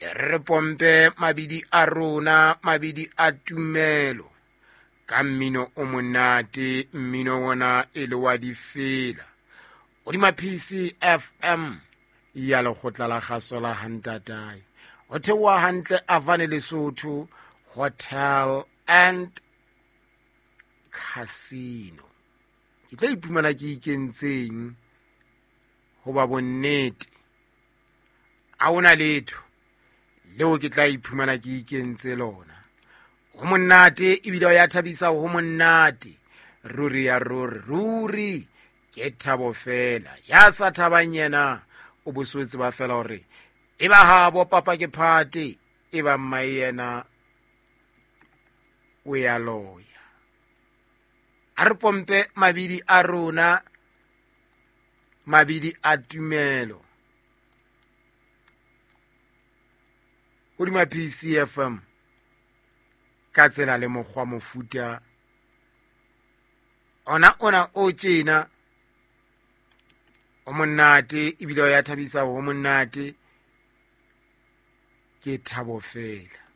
E re re pompe mabidi a rona, mabidi a tumelo ka mmino o monate, mmino wona e le wa difela godima PCFM ya lekgotla la kgaso la Hantatae. Ho theoha hantle Avane Lesotho Hotel and Casino. Ke tlo iphumana ke ikentseng hoba bonnete a ona letho leo ke tla iphumana ke ikentse lona. Ho monate ebile o ya thabisa, ho monate ruri ya ruri ruri, ke thabo fela. Ya sa thabang yena o boswetse ba fela hore e ba habo papa ke phate, e ba mmae yena o ya loya. A re pompe mabidi a rona, mabidi a tumelo hodima PCFM ka tsela le mokgwa mofuta ona ona o tjena o monate ebile o ya thabisa, ho monate ke thabo fela.